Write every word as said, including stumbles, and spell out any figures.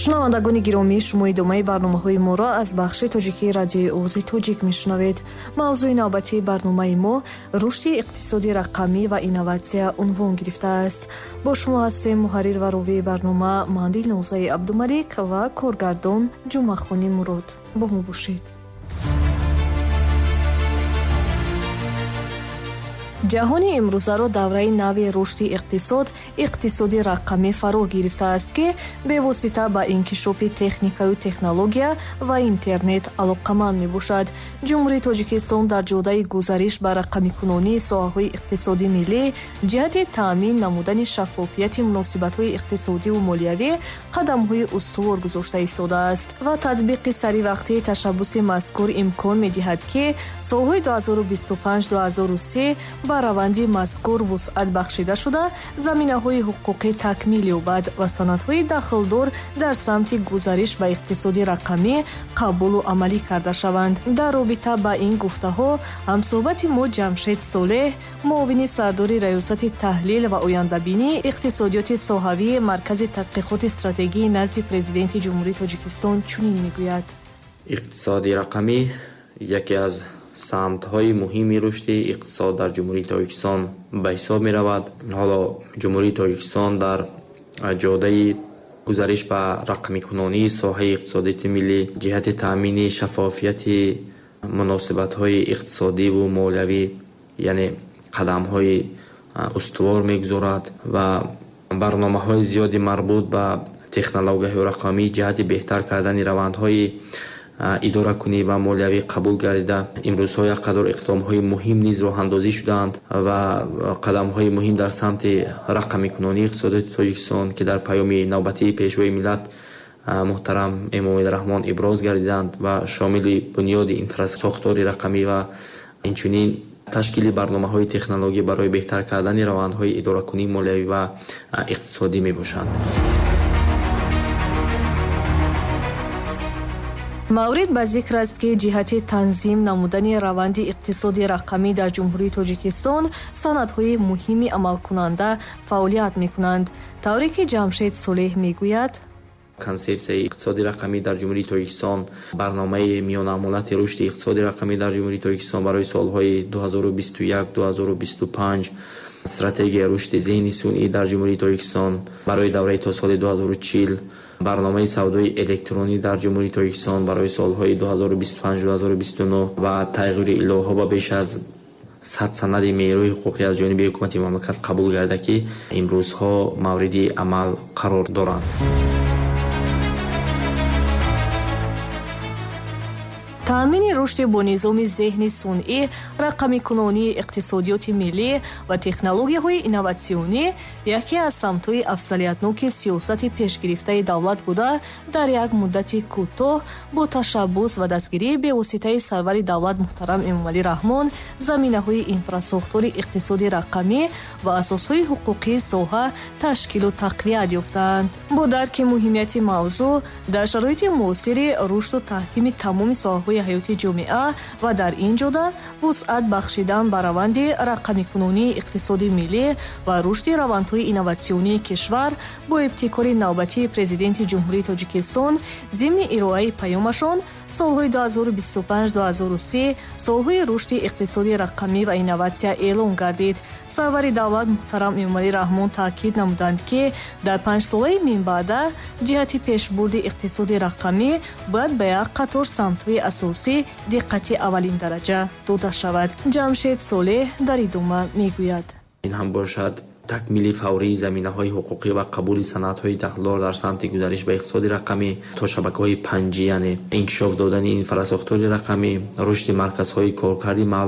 Шунавандагони гиромӣ, шумо идомаи барномаҳои моро аз бахши тоҷикии радиои Овози Тоҷик мешунавед. Мавзӯи навбатии барномаи мо рушди иқтисоди рақамӣ ва инноватсия унвон гирифтааст. Бо шумо ҳастем муҳаррир ва ровии барнома ман Дилнозаи Абдумалик ва коргардон Ҷумъахони Мурод. Бо мо бошед. Ҷаҳони имрӯзаро давраи нави рушди иқтисод, иқтисоди рақамӣ фаро гирифтааст, ки бевосита ба инкишофи техникаю технология ва интернет алоқаманд мебошад. Ҷумҳурии Тоҷикистон дар ҷодаи гузариш ба рақамикунонии соҳаҳои иқтисоди миллӣ ҷиҳати таъмин намудани шаффофияти муносибатҳои иқтисодиву молиявӣ қадамҳои устувор гузошта истодааст ва татбиқи саривақтии ташаббуси мазкур имкон медиҳад, ки солҳои ду ҳазору бисту панҷ ду ҳазору се ба раванди мазкур вусъат бахшида шуда, заминаҳои ҳуқуқӣ такмил ёбад ва санадҳои дахлдор дар самти гузариш ба иқтисоди рақамӣ қабулу амалӣ карда шаванд. Дар робита ба ин гуфтаҳо ҳамсӯҳбати мо Ҷамшед Солеҳ, муовини сардори раёсати таҳлил ва ояндабинии иқтисодиёти соҳавии Маркази тадқиқоти стратегии назди Президенти Ҷумҳурии Тоҷикистон чунин мегӯяд. Иқтисоди рақамӣ яке аз самтҳои муҳими рушди иқтисод дар Ҷумҳурии Тоҷикистон ба ҳисоб меравад. Ҳоло Ҷумҳурии Тоҷикистон дар ҷодаи гузариш ба рақамикунонии соҳаи иқтисодияти миллӣ ҷиҳати таъмини шаффофияти муносибатҳои иқтисодиву молиявӣ, яъне қадамҳои устувор мегузорад ва барномаҳои зиёди марбут ба технологияҳои рақамӣ ҷиҳати беҳтар кардани равандҳои идоракунӣ ва молиявӣ қабул гардида, имрӯзҳо як қадор иқдомҳои муҳим низ роҳандозӣ шудаанд ва қадамҳои муҳим дар самти рақамикунонии иқтисодиёти Тоҷикистон, ки дар паёми навбатии Пешвои миллат муҳтарам Эмомалӣ Раҳмон иброз гардиданд ва шомили бунёди инфрасохтори рақамӣ ва инчунин ташкили барномаҳои технологӣ барои беҳтар кардани равандҳои идоракунии молиявӣ ва иқтисодӣ мебошанд. Маврид ба зикр аст, ки ҷиҳати танзим намудани раванди иқтисоди рақамӣ дар Ҷумҳурии Тоҷикистон санадҳои муҳими амалкунанда фаъолият мекунанд. Тавре ки Ҷамшед Солеҳ мегӯяд, консепсияи иқтисоди рақамӣ дар Ҷумҳурии Тоҷикистон, барномаи миёнамолати рушди иқтисоди рақамӣ дар Ҷумҳурии Тоҷикистон барои солҳои ду ҳазору бисту як ду ҳазору бисту панҷ, стратегияи рушди зеҳни сунъӣ дар Ҷумҳурии Тоҷикистон барои давраи то соли ду ҳазору чил, барномаи савдои электронӣ дар Ҷумҳурии Тоҷикистон барои солҳои ду ҳазору бисту панҷ ду ҳазору бисту нӯҳ ва тағйири иловаҳо ба беш аз сад санади меъёрии ҳуқуқӣ аз ҷониби ҳукумати мамлакат қабул гарда, ки имрӯзҳо мавриди амал қарор доранд. Таъмини рушди бо низоми зеҳни сунъӣ, рақамикунонии иқтисодиёти миллӣ ва технологияҳои инноватсионӣ яке аз самтҳои афзалиятноки сиёсати пешгирифтаи давлат буда, дар як муддати кӯтоҳ бо ташаббус ва дастгирии бевоситаи сарвари давлат муҳтарам Эмомалӣ Раҳмон заминаҳои инфрасохтори иқтисоди рақамӣ ва асосҳои ҳуқуқии соҳа ташкилу тақвият ёфтаанд. Бо дарки муҳимияти мавзӯъ дар шароити муосири рушду таҳкими тамоми соҳаҳои ҳаёти ҷомеа ва дар ин ҷода вусъат бахшидан ба раванди рақамикунонии иқтисоди миллӣ ва рушди равандҳои инноватсионии кишвар бо ибтикори навбатии Президенти Ҷумҳурии Тоҷикистон зимни ироаи паёмашон солҳои ду ҳазору бисту панҷ ду ҳазору се солҳои рушди иқтисоди рақамӣ ва инноватсия эълон гардид. Сарвари давлат муҳтарам Эмомалӣ Раҳмон таъкид намуданд, ки дар панҷсолаи минбаъда ҷиҳати пешбурди иқтисоди рақамӣ бояд ба як қатор самтҳои асосӣ диққати аввалиндараҷа дода шавад. Ҷамшед Солеҳ дар идома мегӯяд: ин ҳам бошад такмили фаврии заминаҳои ҳуқуқӣ ва қабули санадҳои дахлдор дар самти гузариш ба иқтисоди рақамӣ то шабакаҳои панҷ, яъне инкишоф додани инфрасохтори рақамӣ, рушди марказҳои коркарди маълум